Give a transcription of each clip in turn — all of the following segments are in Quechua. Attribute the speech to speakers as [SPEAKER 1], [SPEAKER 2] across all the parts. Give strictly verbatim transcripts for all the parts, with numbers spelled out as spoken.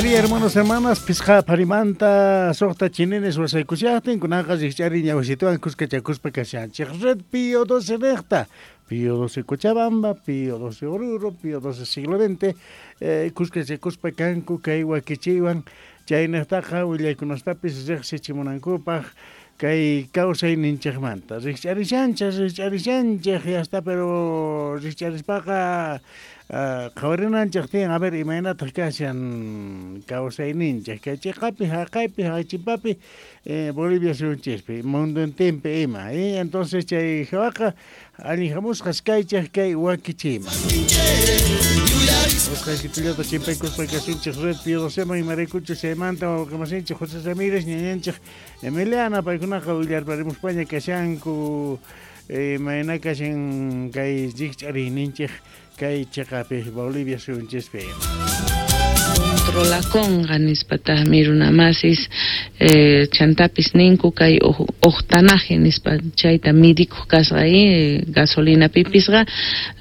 [SPEAKER 1] Buen día, hermanos, hermanas. Pisqa parimanta suqta chinenes wasaykushaqtin kunaqa rikch'ari ñawsituwan kuskachakuspa kashanchik. Red Pío doce recta, Pío doce Cochabamba, Pío doce Oruro, Pío doce siglo veinte, eh, kuskachakuspa kanku kay wakichiywan chaynaqtaqa willaykunastapis riqsichimunankupaq kay kawsayninchikmanta. Rikch'arishanchik, rikch'arishanchik, ya está, pero rikch'arispaqa qhawarinanchik tiyan, a ver, imaynataq kashan kawsayninchik kay chiqapi, haqaypi, hachipapi, eh, Bolivia suyunchispi, mundo entempi ima, eh? Entonces chay hawaqa allin hamusqas kaychik kay wakichiyman. Usqaykitullata chimpaykuspa kasunchik Red Pío doceman imaraykuchus chaymanta wawqimasinchik José Ramírez, ñañanchik Emiliana, paykunaqa willarparimuspaña kashanku imayna kashan kay rikch'ariyninchik kay chiqapi Bolivia suyunchispi.
[SPEAKER 2] Controlaconqa nispataqmi runamasis eh, chantapis ninku kay octanaje nispa chayta midikuq kasqa eh, gasolina pipisqa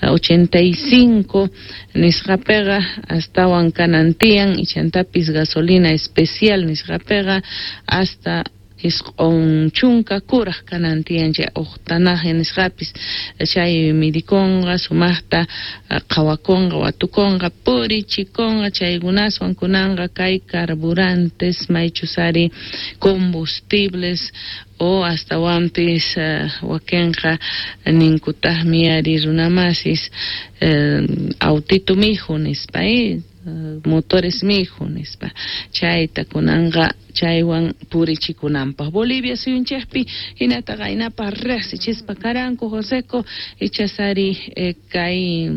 [SPEAKER 2] ochenta y cinco nisqapiqa astawan kanan tiyan y chantapis gasolina especial nisqapiqa hasta isq'un chunka kuraq kanan tiyan chay octanaje nisqapis chay midikunqa sumaqta qhawakunqa watukunqa purichikunqa chaykunaswan kunanqa kay carburantes maychusari combustibles o astawanpis uh, wakinqa ninkutaqmi ari runamasis uh, autito mijo nispa eh? Motores mijo nispa chayta kunanqa chaywan purichikunanpaq Bolivia suyunchikpi hinata qaynapaq riqsichispa karanku Joseco ichasari eh, kay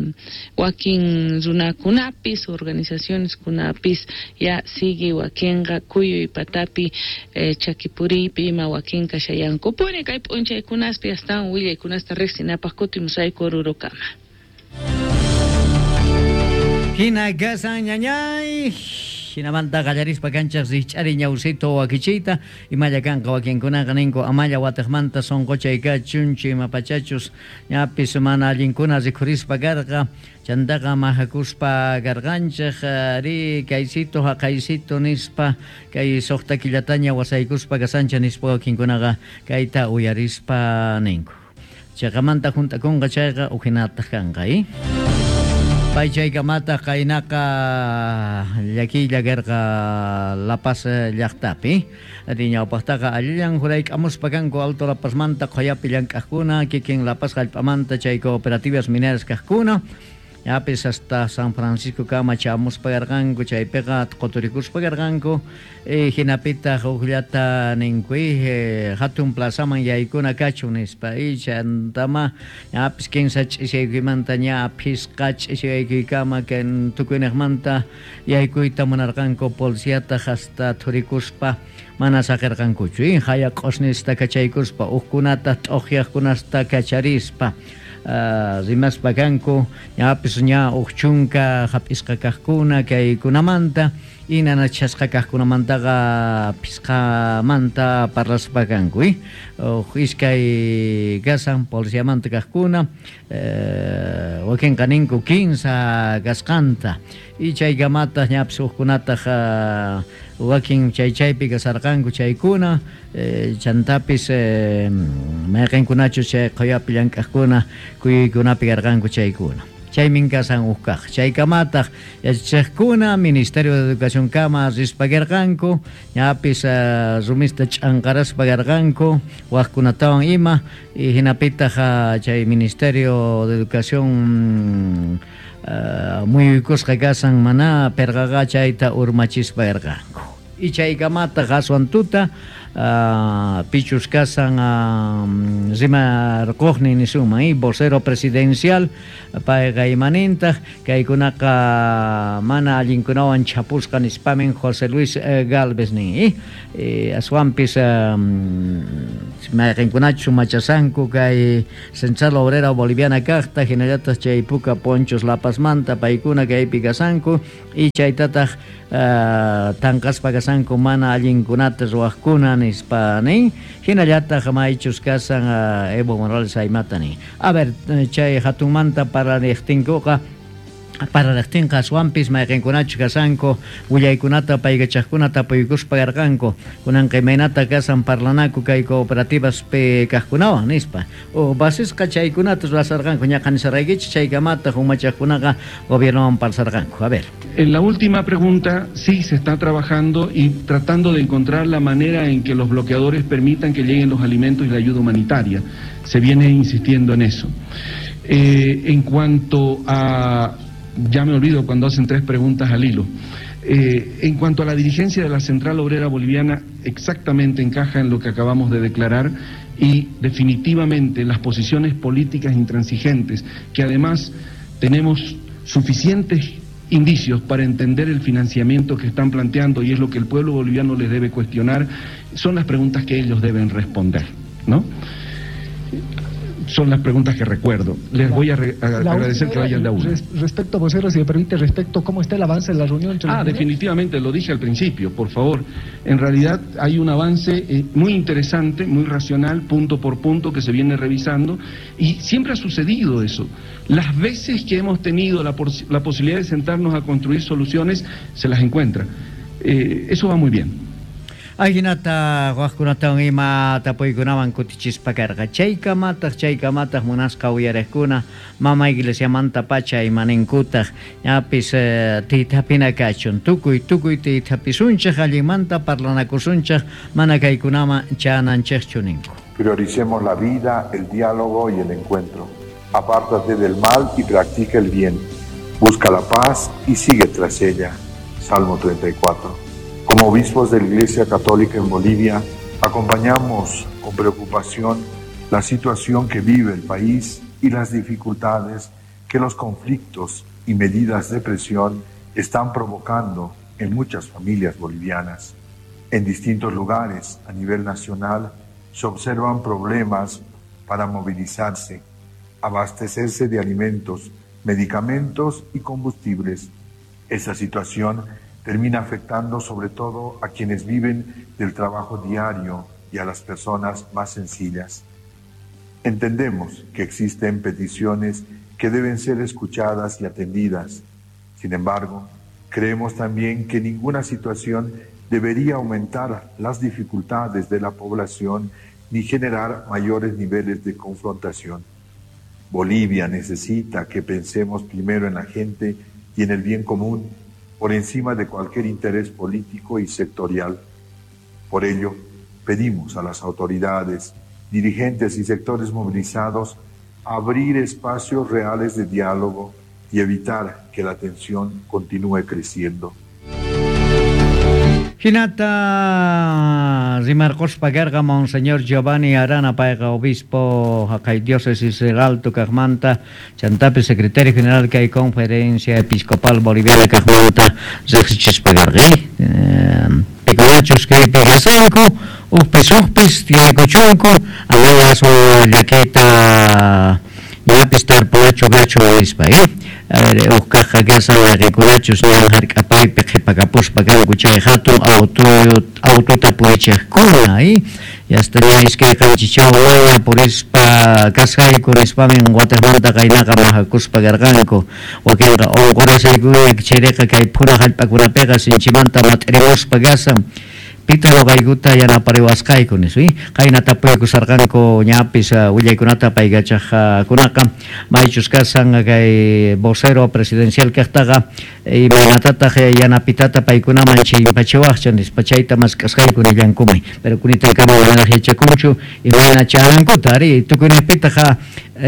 [SPEAKER 2] wakin runakunapis organizaciones kunapis ya sigue wakinqa kuyuy patapi eh, chakipuriypi ima wakinqa shayankupuni kay p'unchaykunaspi astawan willaykunasta riqsinapaq kutimusayku Orurokama.
[SPEAKER 3] Hina kasan ñañay, hinamanta qallarispa kanchaq rikch'ari ñawsito wakichiyta, imalla kanqa wakinkunaqa ninku amalla watiqmanta sunquchay kachunchu imapachachus ñapis mana allinkuna rikhurispa karqa, chantaqa mahakuspa karqanchik ri kaysito haqaysito nispa kay suqta killataña wasaykuspa kasancha nispa wakinkunaqa kayta uyarispa ninku. Chaqamanta juntakunqa chayqa uhinataq kanqa, eh? Paychaykamata qaynaqa llakiylla karqa La Paz llaqtapi. Ñawpaqtaqa allillan jurayk'amuspa kanku Alto La Pazmanta qhuyapi llank'aqkuna, kikin La Paz hallp'amanta chay cooperativas mineras kaqkuna. Yapis hasta San Francisco kama chamuspa karqanku, chaypiqa quturikuspa karqanku, e, hinapitaq hukllata ninku e, hatun plazaman yaykuna kachun nispa, y chantama yapis kinsa ch'ishaykimanta ña phisqa ch'ishaykikama kan tukuyniqmanta yaykuyta munarqanku policiataq hasta thurikuspa mana saqirqankuchu, y haya q'usnista kachaykuspa hukkunata t'uqyaqkunasta kacharispa. Uh, rimaspa kanku ñapis ña uq chunka hap'isqa kaqkuna kaykunamanta y nanachasqa kaqkunamantaqa phisqamanta parlaspa kanku, eh? Uq iskay kasan policiamanta kaqkuna eh, wakinqa ninku kinsa kasqanta y chaykamataq ñapis uqkunataq uh, wakin chay chaypi kasarqanku chaykuna eh, chantapis eh, mayqinkunachu chay qhuyapi llank'aqkuna kuyuykunapi karqanku chaykuna. Chaymin kasan uqkaq. Chaykamataq yachachiqkuna Ministerio de Educación kama rispa karqanku, ñapis uh, rumista ch'anqaraspa karqanku, waqkunatawan ima, y hinapitaq uh, chay Ministerio de Educación uh, muyuykusqa kasan mana perqaqa chayta urmachispa karqanku. Y chaykamataq aswan tuta uh, pichus kasan uh, rimarquqnin nisunman, eh, vocero presidencial payqa imanintaq kaykunaqa mana allinkunawan chapusqa nispamin José Luis eh, Galvez nin, eh? Eh, aswanpis um, mayqinkunachu machasanku kay Central Obrera Boliviana kaqta hinallataq chay puka ponchos La Pazmanta paykuna kaypi kasanku y chaytataq uh, tanqaspa kasanku mana allinkunata ruwaqkuna nispa nin hinallataq maychus kasan uh, Evo Morales aymata nin. A ver, chay hatunmanta parariqtinkuqa Pararaqtinqa aswanpis mayqinkunachu kasanku willaykunata paykachaqkuna tapuykuspa karqanku kunanqa imaynata kasan parlanaku kay cooperativaspi kaqkunawan nispa uq basisqa chaykunata ruwasarqanku ñaqa nisarqaykichik chaykamataq umachaqkunaqa gobiernowan parsarqanku. A ver.
[SPEAKER 4] En la última pregunta sí se está trabajando y tratando de encontrar la manera en que los bloqueadores permitan que lleguen los alimentos y la ayuda humanitaria. Se viene insistiendo en eso. Eh, en cuanto a... Ya me olvido cuando hacen tres preguntas al hilo. Eh, en cuanto a la dirigencia de la Central Obrera Boliviana, exactamente encaja en lo que acabamos de declarar y definitivamente las posiciones políticas intransigentes, que además tenemos suficientes indicios para entender el financiamiento que están planteando y es lo que el pueblo boliviano les debe cuestionar, son las preguntas que ellos deben responder, ¿no? Son las preguntas que recuerdo. Les voy a, re, a agradecer que vayan de a uno.
[SPEAKER 5] Res, respecto, vocero, si me permite, respecto cómo está el avance de la reunión. Entre
[SPEAKER 4] ah, definitivamente, lo dije al principio, por favor. En realidad hay un avance eh, muy interesante, muy racional, punto por punto, que se viene revisando, y siempre ha sucedido eso. Las veces que hemos tenido la, la posibilidad de sentarnos a construir soluciones, se las encuentra. Eh, eso va muy bien.
[SPEAKER 3] Ajinata waqkunatawan ima tapuykunawan kutichispa karqa chaykamataq chaykamataq munasqa uyariqkuna mama iglesiamanta pacha imaninkutaq ñapis eh, tiytapina kachun tukuy tukuy tiytapisunchik allinmanta parlanakusunchik mana kaykunaman chananchikchu ninku.
[SPEAKER 6] Prioricemos la vida, el diálogo y el encuentro. Apártate del mal y practica el bien. Busca la paz y sigue tras ella. Salmo treinta y cuatro. Como obispos de la Iglesia Católica en Bolivia, acompañamos con preocupación la situación que vive el país y las dificultades que los conflictos y medidas de presión están provocando en muchas familias bolivianas. En distintos lugares a nivel nacional se observan problemas para movilizarse, abastecerse de alimentos, medicamentos y combustibles. Esa situación termina afectando sobre todo a quienes viven del trabajo diario y a las personas más sencillas. Entendemos que existen peticiones que deben ser escuchadas y atendidas. Sin embargo, creemos también que ninguna situación debería aumentar las dificultades de la población ni generar mayores niveles de confrontación. Bolivia necesita que pensemos primero en la gente y en el bien común, por encima de cualquier interés político y sectorial. Por ello, pedimos a las autoridades, dirigentes y sectores movilizados abrir espacios reales de diálogo y evitar que la tensión continúe creciendo.
[SPEAKER 3] Hinata rimarquspa karqa Monseñor Giovanni Arana payqa obispo haqay diócesis del Alto kaqmanta chantapi secretario general kay Conferencia Episcopal Boliviana kaqmanta riqsichispa karqa pikunachus kaypi kasanku uqpis uqpis tiyaykuchunku amaya aswan llakita ñapis tarpunachu kachu nispa eh uqkaqqa kasan llaqikunachus ñan hark'apaypi qhipakapuspa kanku chay hatun auto autota purichiqkuna eh yasta ña iskay qanchichawña purispa kasqayku nispamin watiqmanta qaynaqa mahakuspa karqanku wakinqa unqurasaykuña chayriqa kay phura hallp'akunapiqa sinchimanta mat'irimuspa kasan pita noqaykuta yanapariwasqayku nispa qayna tapuykusarqanku ñapis willaykunata paykachaqkunaqa maychus kasan kay vocero presidencial kaqtaqa imaynatataq yanapitata paykunaman chimpachiwaqcha nispa chayta mask'asqayku nillankuman pero kunitankama manaraq yachakunchu imayna charankuta ari tukuyniypitaqa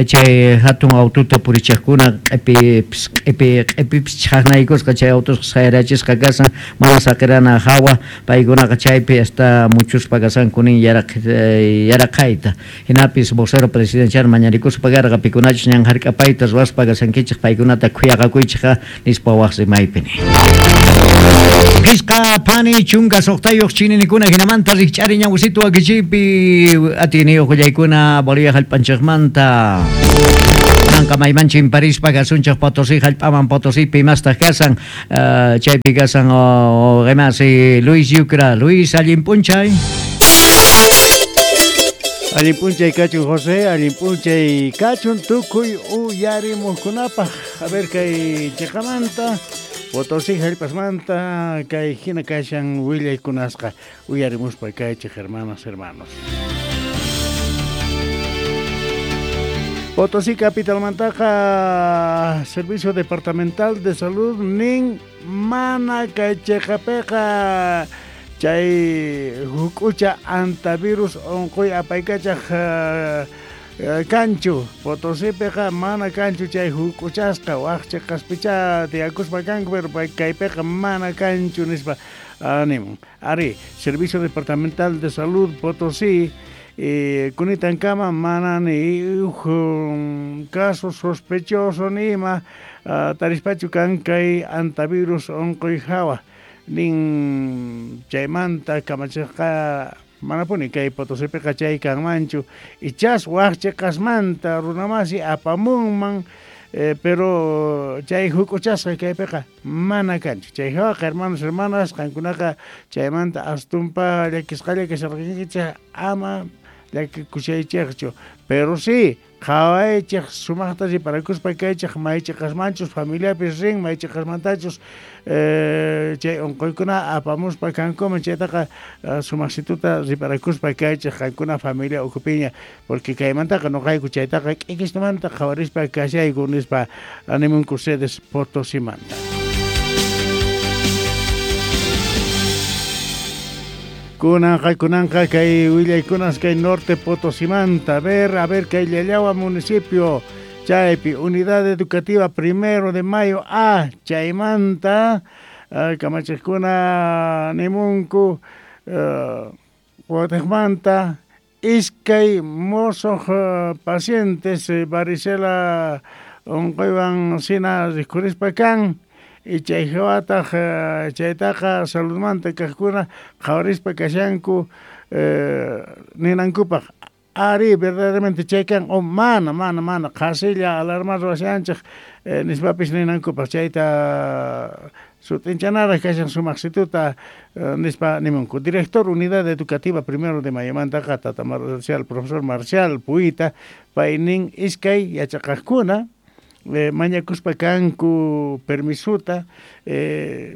[SPEAKER 3] chay hatun autota purichiqkuna q'ipipis q'ipi q'ipipis chhaqnaykusqa chay autusqa sayrachisqa kasan mana saqirana hawa paykunaqa chaypi hasta muchuspa kasanku nin yaraq yaraqayta hinapis vocero presidencial mañarikuspa karqa pikunachus ñan hark'apayta ruwaspa kasankichik paykunata khuyaqakuychikqa nispa waq rimaypi ni Qisqa phani chunka suqtayuq chininikuna hinamanta rikch'ari ñawisitu wakichiypi atiyniyuq willaykuna Bolivia hallp'anchikmanta Nanqa maymanchin parispa kasunchik Potosí hallp'aman Potosípi imastaq kasan uh, chaypi kasan qimasi Luis Yucra. Luis, allin p'unchay.
[SPEAKER 1] Allin p'unchay kachun José, allin p'unchay kachun tukuy uyarimuqkunapaq. A ver kay chiqamanta Potosí hallp'asmanta kay hina kashan willaykunasqa uyarimuspa kaychik hermanas, hermanos. Potosí capitalmantaqa Servicio Departamental de Salud nin mana kay chiqapiqa chay huk'ucha antivirus unquy apaykachaq uh, kanchu. Potosípiqa mana kanchu chay huk'uchasqa waq chiqaspicha tiyakuspa kanku, pero kaypiqa mana kanchu nispa animun. Ari, Servicio Departamental de Salud Potosí eh, kunitankama mana ni huk caso sospechoso ni ima uh, tarispachu kan kay antivirus unquy hawa. Nin chaymanta kamachiqqa manapuni kay Potosípiqa chay kanmanchu ichas waq chiqasmanta runamasi apamunman eh, pero chay huk'uchasqa kaypiqa mana kanchu. Chay hawaqa hermanos, hermanas, qankunaqa chaymanta astumpa llakisqalla kasharqankichik ama llakikushaychikchu, pero sí qhawaychik sumaqta riparakuspa kaychik maychiqasmanchus familiapis rin maychiqasmantachus eh, chay unquykuna apamuspa kankuman chaytaqa uh, sumaqsituta riparakuspa kaychik qankuna familia ukhupiña, porque kaymantaqa nuqayku chaytaqa k'ikismanta qhawarispa kashayku nispa animunku sedes Potosimanta. Kunanqa kunanqa kay willaykunas kay norte Potosimanta. A ver, a ver kay Llallagua municipio chaypi Unidad Educativa Primero de Mayo A chaymanta uh, kamachiqkuna nimunku uh, watiqmanta iskay mosoq uh, pacientes uh, varicela unquywan sina rikhurispa kan. Y chay hawataq chaytaqa saludmanta kaqkuna qhawarispa kashanku eh, ninankupaq ari verdaderamente chay kan o mana mana mana qhasilla alarma ruwashanchik eh, nispapis ninankupaq chayta sut'inchanaraq kashan sumaqsituta eh, nispa nimunku. Director Unidad Educativa Primero de Mayomantaqa tata Marcial, profesor Marcial Puita paynin iskay yachaqaqkuna Eh, mañakuspa kanku permisuta eh,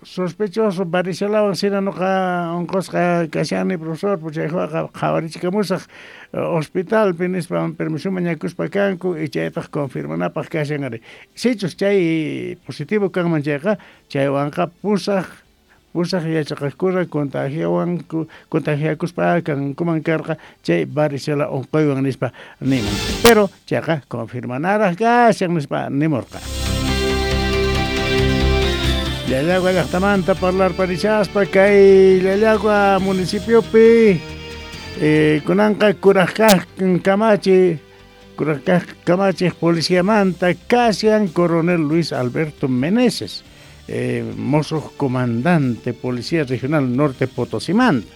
[SPEAKER 1] sospechoso varicelawan sina nuqa unqusqa kashani profesor chaywaqa qhawarichikamusaq hospitalpi nispa permiso mañakuspa kanku y chaytaq confirmanapaq kashan ari. Sichus chay positivo kanman chayqa chaywanqa pusaq pusaq yachaqaqkuna contagiawan contagiakuspa kankuman karqa chay varicela unquywan nispa nimun. Pero chayqa confirmanaraq kashan nispa nimurqa. Llallagua llaqtamanta parlarparishaspa kay Llallagua municipiopi eh, kunanqa kuraqkaq kamachi kuraqkaq kamachiq policiamanta kashan coronel Luis Alberto Meneses, Eh, mozo comandante Policía Regional Norte Potosimanta.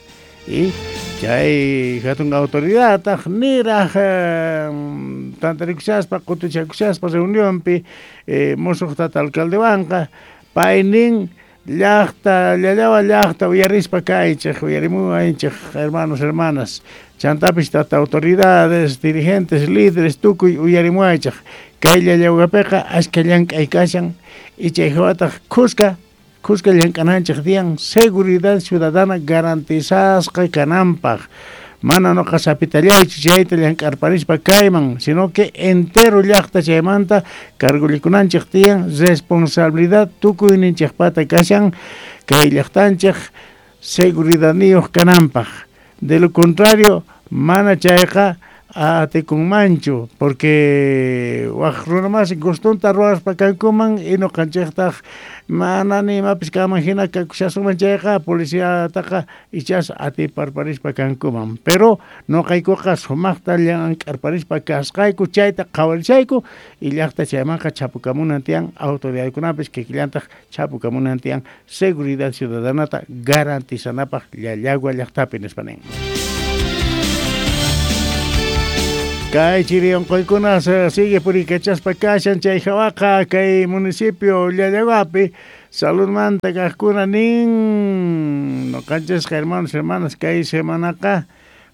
[SPEAKER 1] Y chay hatun autoridad niraq eh, tantarikushaspa qutuchakushaspa reunionpi eh, mozo tata alcaldewanqa paynin llaqta Llallagua llaqta uyarispa kaychik uyarimuwanchik hermanos, hermanas, chantapis tata autoridades, dirigentes, líderes tukuy uyarimuwaychik kay Llallaguapiqa ashka llank'ay kashan y chay hawataq kuska kuska llank'ananchik diyan seguridad ciudadana garantizasqa kananpaq. Mana nuqa sapitallaychu chayta llank'arparispa kayman, sino que entero llaqta chaymanta cargullikunanchik tiyan responsabilidad tukuyninchikpata kashan kay llaqtanchik seguridadniyuq kananpaq. De lo contrario, mana chayqa atikunmanchu, porque waq runamasi gustunta ruwaspa kankuman y nuqanchiktaq mana ni imapis kanman hina kakushasunman chayqa policiataqa ichas atiparparispa kankuman. Pero nuqaykuqa sumaqta llank'arparispa kasqayku chayta qhawarishayku y llaqta chaymanqa chapukamunan tiyan autoridadkunapis kikillantaq chapukamunan tiyan seguridad ciudadanata garantizanapaq Llallagua llaqtapi nispa nin. Kay chiri unquykuna sigue purikachaspa kashan chay hawaqa kay municipio Llallaguapi saludmanta kaqkuna nin nuqanchisqa hermanos, hermanas kay semanaqa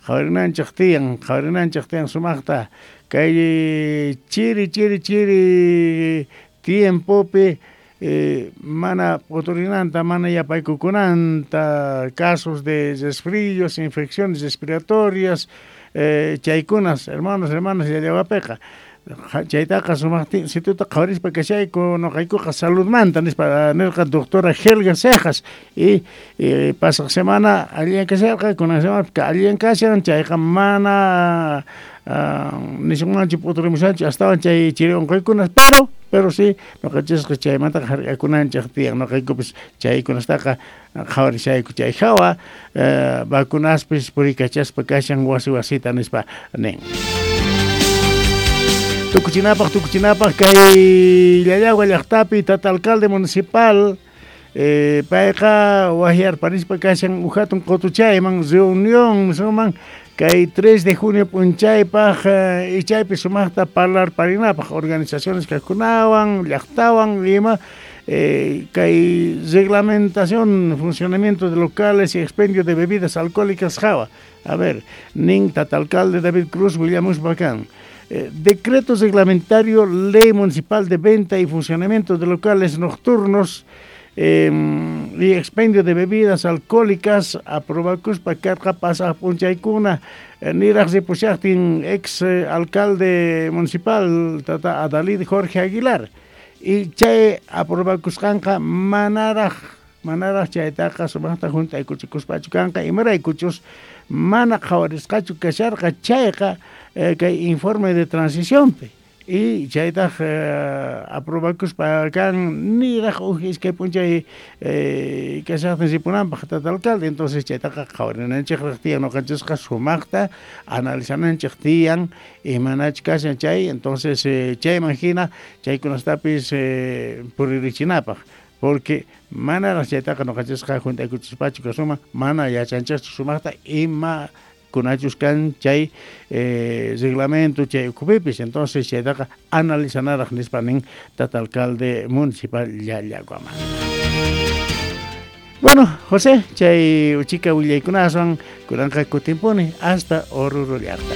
[SPEAKER 1] Qhawarinanchik tiyan, qhawarinanchik tiyan sumaqta kay chiri chiri chiri tiempopi eh, mana p'uturinanta, mana yapaykukunanta, casos de resfríos, infecciones respiratorias, eh, chaykunas, hermanos, hermanas, llallawapiqa. Chaytaqa sumaqtin situta qhawarispa kashayku noqaykuqa saludmanta nispa nirqa doctora Helga Cejas y eh, pasaq semana alliyan kasharqa, kunan semana alliyan kashan, chayqa mana uh, nisunmanchu p'uturimushanchu astawan chay chiri unquykunas, pero pero sí noqanchisqa chaymantaqa hark'akunanchik tiyan, noqaykupis chaykunastaqa qhawarishayku chay hawa eh, vacunaspis purikachaspa kashan wasi wasita nispa nin. Tukuchinapaq, tukuchinapaq kay Llallagua llaqtapi tata alcalde municipal eh, payqa wahyarparispa kashan uhatun qutuchayman reunión suman kay tres de junio p'unchaypaq eh, ichaypi sumaqta parlarparinapaq organizaciones kaqkunawan llaqtawan ima eh, kay reglamentación funcionamiento de locales y expendio de bebidas alcohólicas hawa. A ver, nin tata alcalde David Cruz willamuspa kan. Eh, decreto reglamentario, ley municipal de venta y funcionamiento de locales nocturnos eh, y expendio de bebidas alcohólicas, aprobakuspa karqa pasaq p'unchaykuna eh, niraq ripushaqtin ex eh, alcalde municipal tata Adalid Jorge Aguilar y chay aprobakusqanqa manaraq manaraq chaytaqa sumaqta juntaykuchikuspachu kanqa imaraykuchus mana qhawarisqachu kasharqa chayqa eh, kay informe de transiciónpi y chaytaq eh, aprobakuspa kan niraq uj iskay p'unchay eh, kashaqtin ripunanpaq tata alcalde, entonces chaytaqa qhawarinanchikraq tiyan noqanchisqa sumaqta analizananchik tiyan imanach kashan chay, entonces eh, chayman hina chaykunastapis eh, puririchinapaq porque manaraq chaytaqa noqanchisqa juntaykuchispachu kasuman mana yachanchikchu sumaqta ima kunachus kan chay eh, reglamento chay ukhupipis, entonces chaytaqa analizanaraq nispa nin tata alcalde municipal Llallaguaman. Bueno, José, chay uchika willaykunaswan kunanqa kutimpuni hasta Oruro llaqta.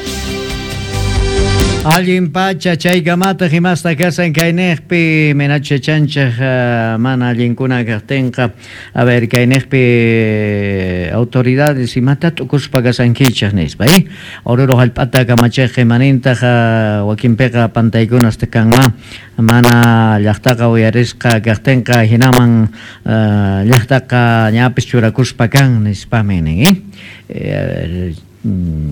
[SPEAKER 3] Allin pacha chaykamata himasta kasan kayniqpi menacha chanchaq uh, mana allinkuna kaqtinqa a ver kayniqpi autoridades imata t'ukuspa kasankichaq nispa eh Oruro hallp'ata kamachiq imanintaq uh, wakinpiqa pantaykunas kanma mana llaqtaqa uyarisqa kaqtinqa hinaman uh, llaqtaqa ñapis churakuspa kan nispami nin eh, eh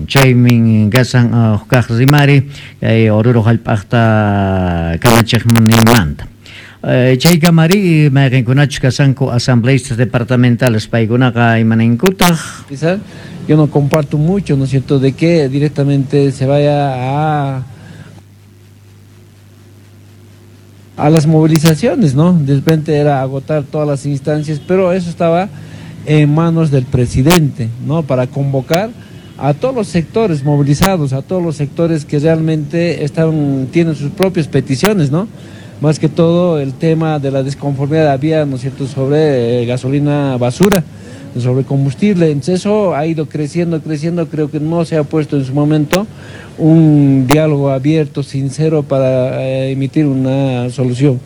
[SPEAKER 3] chaymin kasan hukaq rimari kay Oruro hallp'aqta kamachiqninmanta. Chaykamari mayqinkunachus kasanku asambleístas departamentales paykunaqa imaninkutaq.
[SPEAKER 7] Yo no comparto mucho, ¿no es cierto?, de que directamente se vaya a a las movilizaciones, ¿no? De repente era agotar todas las instancias, pero eso estaba en manos del presidente, ¿no?, para convocar a todos los sectores movilizados, a todos los sectores que realmente están, tienen sus propias peticiones, ¿no? Más que todo el tema de la desconformidad había, ¿no es cierto?, sobre eh, gasolina basura, sobre combustible. Entonces eso ha ido creciendo, creciendo, creo que no se ha puesto en su momento un diálogo abierto, sincero para eh, emitir una solución.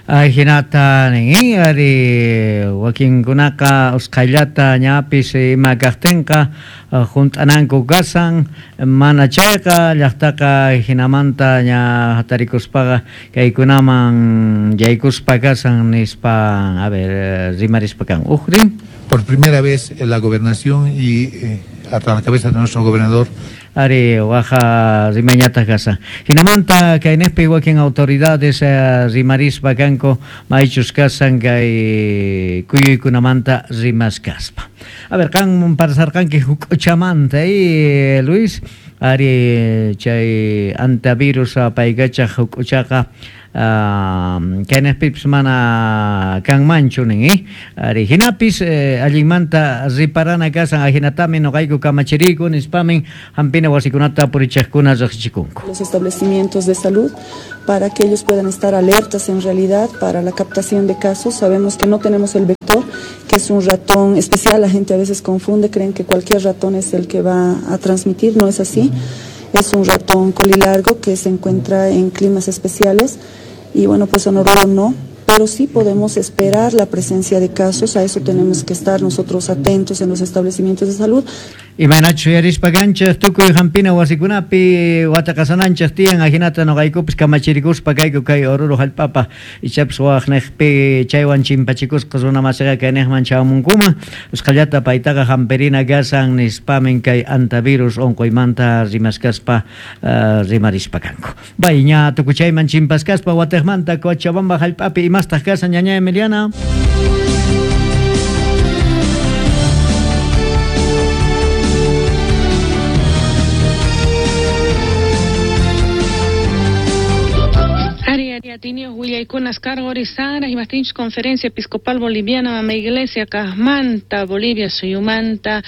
[SPEAKER 3] Ay, hinata nin ari wakinkunaqa usqhayllata ñapis ima kaqtinqa junt'ananku kasan mana chayqa llaqtaqa hinamanta ña hatarikuspaqa kaykunaman yaykuspa kasan nispa a ver rimarispa kan uqri.
[SPEAKER 8] Por primera vez en la gobernación y eh, a la cabeza de nuestro gobernador
[SPEAKER 3] ari waja rimañata kasa hinamanta kayniqpi wakin autoridades eh, rimarispa kanku maychus kasan kay kuyuykunamanta rimaskaspa. A ver, kan parsarqanki huk'uchamanta eh, Luis ari chay antivirus apaykachaq huk'uchaqa kayniqpipis mana kanmanchu nin eh ari hinapis eh, allinmanta riparana kasan ahinatami noqayku kamachiriku nispamin hampina wasikunata purichaqkuna riqsichikunku.
[SPEAKER 9] Los establecimientos de salud para que ellos puedan estar alertas en realidad para la captación de casos. Sabemos que no tenemos el vector, que es un ratón especial gente a veces confunde, creen que cualquier ratón es el que va a transmitir, no es así. Es un ratón colilargo que se encuentra en climas especiales y bueno, pues en Oruro no, pero sí podemos esperar la presencia de casos, a eso tenemos que estar nosotros atentos en los establecimientos de salud.
[SPEAKER 3] Imaynachu yarispa kanchik tukuy hampina wasikunapi wataqasananchik tiyan ajinata nuqaykupis kamachirikuspa kayku kay Oruro hallp'apa ichapas waqniqpi chaywan chimpachikusqa runa masiqa kayniqman chamunkuman usqhallata paytaqa hampirina kasan nispamin kay antivirus unquymanta rimaskaspa uh, rimarispa kanku. Bay ña tukuchayman chimpaskaspa watiqmanta Cochabamba hallp'api imastaq kasan ñaña Emiliana.
[SPEAKER 2] Willaykunas cargorizara imaptinchus Conferencia Episcopal Boliviana mama Iglesia kaqmanta Bolivia suyumanta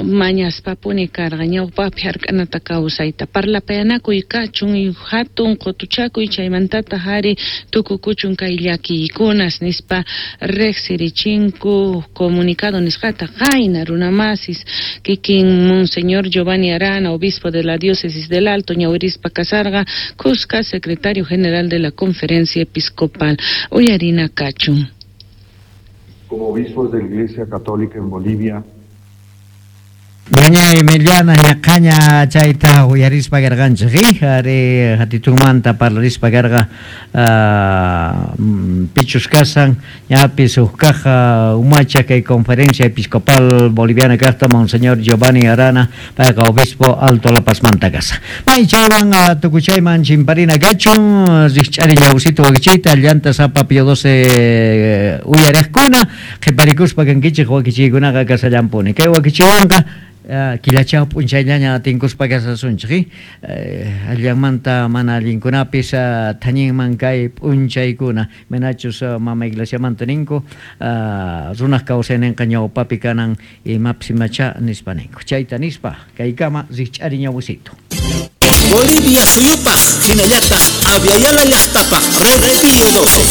[SPEAKER 2] mañaspapuni karqa ñawpapi hark'anata kawsayta parlapayanakuy kachun hatun qutuchakuy chaymantataq ari tukukuchun kay llakiykunas nispa riqsirichinku comunicado nisqata qayna runamasis kikin Monseñor Giovanni Arana, obispo de la diócesis del Alto ñawirispa kasarqa Cusca, secretario general de la Conferencia Episcopal. Uyarina kachun.
[SPEAKER 6] Como obispos de la Iglesia Católica en Bolivia,
[SPEAKER 3] Ñaña Emiliana ñaqaña chayta uyarispa karqanchik ari hatitunmanta parlarispa karqa pichus kasan ñapis huk kaq umacha kay Conferencia Episcopal Boliviana kaqta Monseñor Giovanni Arana payqa obispo Alto La Pazmanta kasa. May chaywan tukuchayman chimparina kachun rikch'ari ñawsito wakichiyta llanta sapa Pío doce uyariqkuna qhiparikuspa kankichik wakichiykunaqa kasallampuni kay wakichiwanqa killachaw p'unchayllaña tinkuspa kasasunchik allanmanta mana allinkunapis thañinman kay p'unchaykuna manachus mama iglesiamanta ninku runaq kawsayninqa ñawpapi kanan imapis imacha nispa ninku chayta nispa kaykama rikch'ari ñawsito.
[SPEAKER 10] Bolivia suyupaq hinallataq Abya Yala llaqtapaq Red Pío doce.